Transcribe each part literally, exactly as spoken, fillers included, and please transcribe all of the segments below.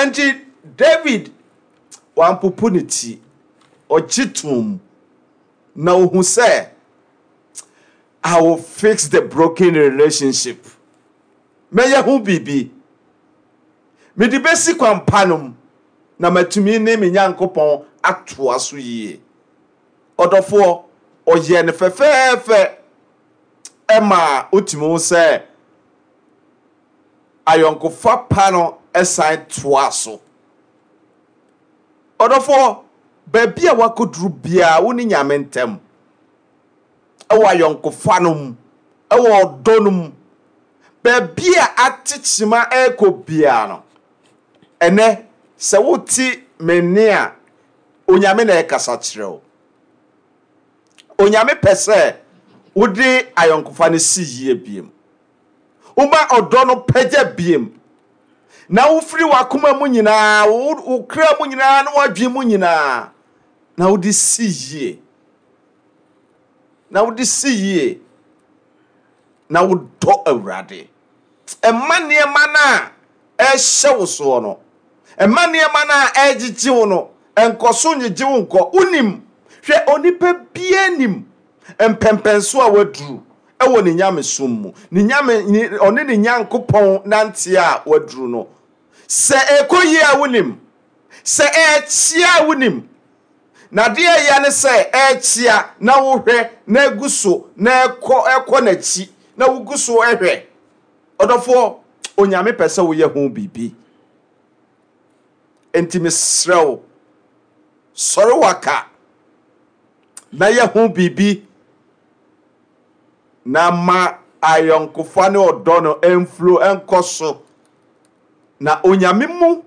Enti David wampopo ne ti, ɔgye toom na ohu sɛ, "I will fix the broken relationship. Mɛyɛ ho biribi. Mede bɛsi kwan pa no mu na matumi ne me Nyankopɔn atoa so yie." Ɔdɔfoɔ, ɔyɛ no fɛfɛɛfɛ ɛma wotumi hu sɛ ayɔnkofa pa no ɛsan toa so. Ɔdɔfoɔ, baabi a wakɔduru biara, wo ne Nyame ntam ɛwɔ ayɔnkofa no mu, ɛwɔ ɔdɔ no mu, baabi a ate kyima ɛrekɔ biara no, ɛnɛ sɛ wote me nne a, Onyame na ɛkasa kyerɛ wo. Onyame pɛ sɛ wode ayɔnkofa no si yie biem, woma ɔdɔ no pagya biem, na wofiri w'akoma mu nyinaa, wo wo kra mu nyinaa ne w'adwene mu nyinaa na wode si yie, na wode si yie, na wodɔ Awurade. Ɛma nneɛma no a ɛhyɛ wo soɔ no, ɛma nneɛma no a ɛgyegye wo no, ɛnkɔ so nyegye wo nkɔ. Wonim, hwɛ, onipa biara nim mpɛmpɛnso a waduru ɛwɔ ne nyamesom mu, ne nyame ne ɔne ne Nyankopɔn nante a waduru no. Sɛ ɛkɔ yie a, wonim. Sɛ ɛkyia a, wonim. Na adeɛ ɛyɛ ne sɛ ɛkyia na wohwɛ na egu so na ɛkɔ ɛkɔ n'akyi na wogu so ɛhwɛ. Ɔdɔfoɔ, Onyame pɛ sɛ woyɛ ho biribi. Enti mesrɛ wo, sɔre waka na yɛ ho biribi na ma ayɔnkofa ne ɔdɔ no ɛmflo ɛnkɔ so. Na Onyame mu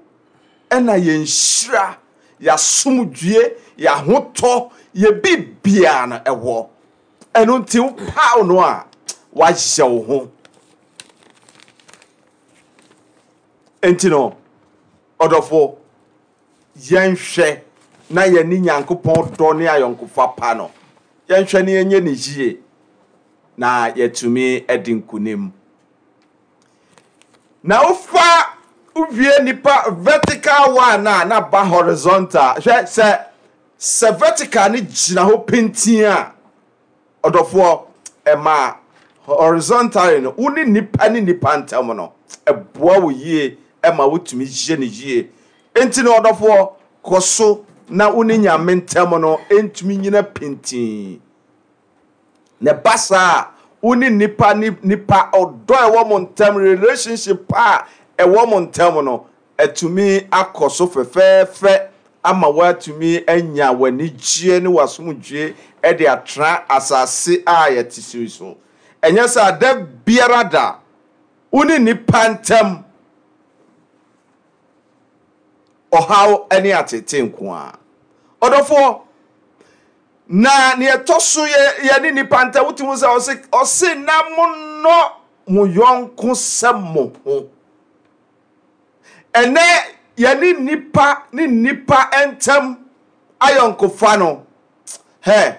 ɛna yɛn nhyira, yɛasomdwie, yɛahotɔ, yɛ biribiara no ɛwɔ. Ɛno nti wopaw no a, wahyɛ wo ho. Enti no, ɔdɔfo, yɛnhwɛ na yɛne Nyankopɔn dɔ ne ayɔnkofa pa no, yɛnhwɛ ne yɛnyɛ ne yie na yɛtumi adi nkonim. Na wofa wowie nipa vertical one a, na ba horizontal. Hwɛ, sɛ sɛ vertical ne gyina hɔ pintin a, ɔdɔfoɔ, ɛma horizontally no, wo ne nipa ne nipa ntam no, ɛboa wo yie, ɛma wotumi yie ne yie. Nti no, ɔdɔfoɔ, kɔ so na wo ne Nyame ntam no ntumi nyina pintin. Na ɛba saa a, wo ne nipa ne nipa ɔdɔ a ɛwɔ mo ntam, relationship a ɛwɔ mo ntam no, ɛtumi akɔ so fɛfɛɛfɛ ama woatumi anya w'anigyeɛ ne w'asomdwie ɛde atena asase a yɛte so yi so. Ɛnyɛ sɛ ada biara da wo ne nipa ntam ɔhaw ne atete nko a. Ɔdɔfoɔ, na nea ɛtɔ so yɛ yɛne nipa ntam, wotumi sɛ ɔse ɔse na monnɔ mo yɔnko sɛ mo ho. Ɛnɛ yɛne nipa ne nipa ntam ayɔnkofa no hɛ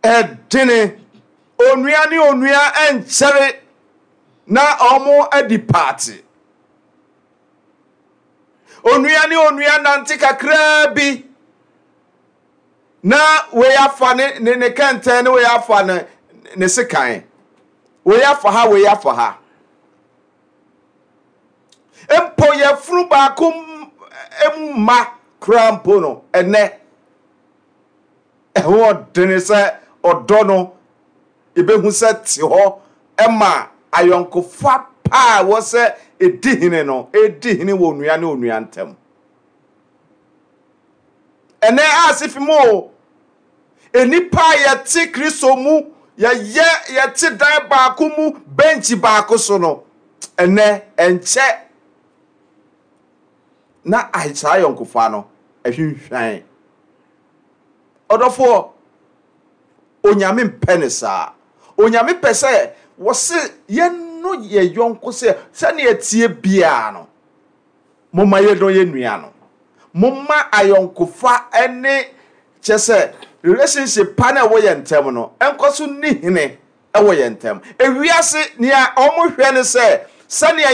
ɛdene. Onua ne onua nkyɛre na ɔmo adi paate. Onua ne onua nante kakraa bi na wei afa ne ne ne kɛntɛn ne wei afa ne ne sekan, wei afa ha, wei afa ha. Mpo yɛfunu baako mu mma koraa mpo no, ɛnɛ ɛho ɔdene sɛ ɔdɔ no ebehu sɛ te hɔ ɛma ayɔnkofa pa a wɔ sɛ edi hene no edi hene wɔ onua ne onua ntam. Ɛnɛ ase fi mu o, enipa a yɛte Kristo mu, yɛyɛ yɛte dan baako mu, bɛnkyi baako so no, ɛnɛ ɛnkyɛ na saa ayɔnkofa no ɛhwinhwan. Ɔdɔfoɔ, Onyame mpɛ ne saa. Onyame pɛ sɛ wɔse yɛno yɛ yɔnko sɛ sɛnea tie biara no, momma yɛdɔ yɛ nua no, momma ayɔnkofa ne kyɛ sɛ relationship pa na ɛwɔ yɛn ntam no ɛnkɔ so ni hene ɛwɔ yɛn ntam. Ewiase nea ɔmo hwɛ ne sɛ sɛnea